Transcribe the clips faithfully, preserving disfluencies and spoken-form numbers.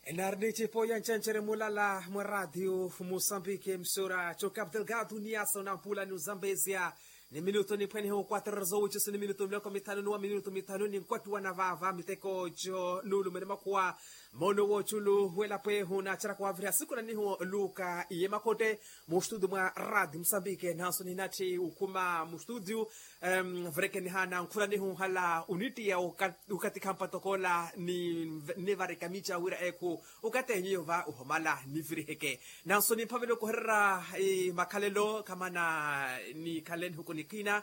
Enari ni cipo ya ncencere mulala mwa radio musambiki msura co capital gado ni yaso na mpula ni uzambezia. Ni minuto ni phwene ho quatro horas ocho ni minuto miloko mitano ni wa minuto mitano ni nkwattu wa navava miteko co nulumene makuwa. Mono wo culu wela pwehu na cera kwavira siku na niho luka iye makote. Mu studio mwa radio musambiki nanso ni nati ukuma mu studio. Em, vureke nihana nkhula nihuhala unitiya ukatikha mpatokola ni nivarika mica wira ekhu ukatenyiyo va uhomala niviriheke. Nanso nimphavela okuhererya makhalelo kamana nikhale nihuku nikina.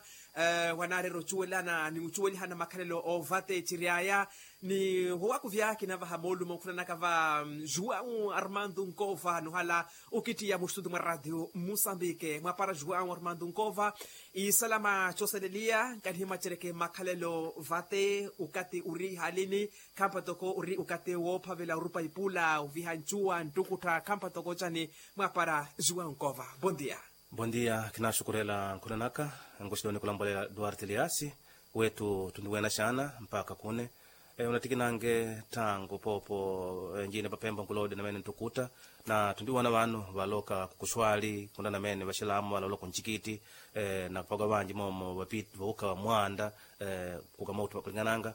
Wanaarera ocuwelana ni ucuwelihana makhalelo ovate ciryaya. Ni wowakuvya kinavaha moolumo nkhunanaka va juwau armando nkova nuhala ukittiya muxutu mwa radio musambike mwapara juwau armando nkova. Isalama coseleliya nkanihimacereke makhalelo vate ukati uri halini. Khampa toko uri ukati woophavela orupa ipula oviha ncuwa ntukuttha khampa toko ocani. Mwapara juwau nkova. Bondia. Bondia. Kinaxukurela nkhunanaka. Nkuxiloni kulambolela duarte liasi wetu tundiwena xana mpaka kune. Unatikinange tangu popo njine papemba nkulode namene ntukutta na tundiwona vanu valoka kukuxwali kundanamene vaxilamu valoloka oncikiti. Na vaka vanji momo vapita vauka mwanda kukamouttu vakulingananga.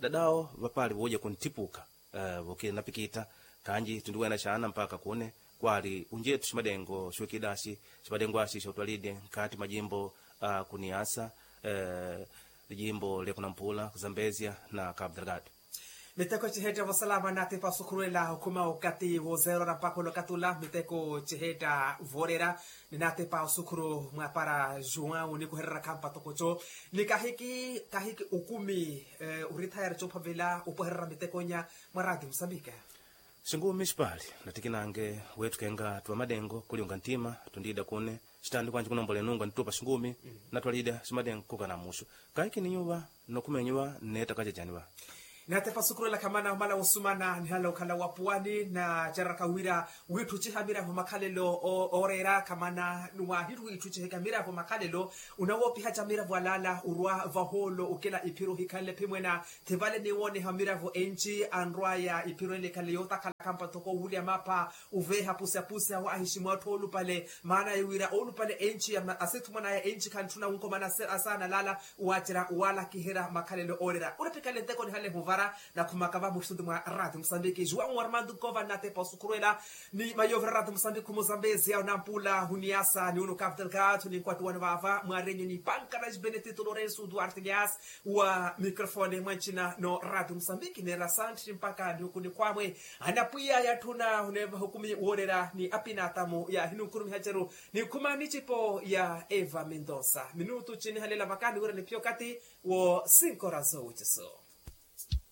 Dadao vapali vooja kunttipuka vokina napikita. Kanji tundiwena xana mpaka kune kwali unjetu ximadengo xuwekidasi ximadengo axi xotwalide nkati majimbo a kuniasa lijimbo lya kunampula kuzambezia na cabo delgado. Miteko cihetta vosalama natipa osukhurwela okhuma okati wozerora mpaka olokatula miteko cihetta vorera. Ni natipa osukhuru mwapara juwau nikuherera khampa tokoco ni kahiki kahiki okumi. Orithayara cophavela opweherera mitekonya mwa radio musambika. Xingumi xipali natikinange weettukenga ttuva madengo kuliunga nttima. Tundiida kune xitandi kwanje kunombola enunga nttupa xingumi natwaliida ximadengo kukana muxu. Kaiki ninyuva nokhuma enyuva nneetta kacacani va. Natepa osukurela khamana omala wosumana nihala okhala wapuwani nacereraka wira witthu ciha miravo makhalelo ooreera khamana. Niwahitthu witthu ciheka miravo makhalelo unawoopihaca miravo alaala orwa vahoolo okela iphiro ohikhanle phimwena. Thivale niwooneha miravo enci anrwaya iphiro ele ekhale yootakhala khampa toko owulya mapha oveeha pusapusa waahiximu atthu oolupale maana ya wira oolupale enci asithumwanaya enci khantthuna wunkomana asaana alaala. Waacerya waalakiherya makhalelo oorera uripikhale nteko nihale ehuvara. Nakhumaka va muxutu mwa radio musambiki juwau armando nkova nnatepa osukhurwela ni mayoovira radio musambiki khumuzambezia onampula huniyasa ni unu capital gat ni nkwattuwano vaava mwarenyu ni pankara benetito lorenso duarte lias wa microfone mwa ncina no radio musambiki neera santhi mpaka ni ukunikhwamwe. Anapwiya yatthuna huneevaha okumi woorera ni apinatamu ya hinunkhurumiha ceru. Nikhuma nicipo ya eva mendosa minutu cinihalela vakani wira niphiya okati wo sinkorazo wiciso.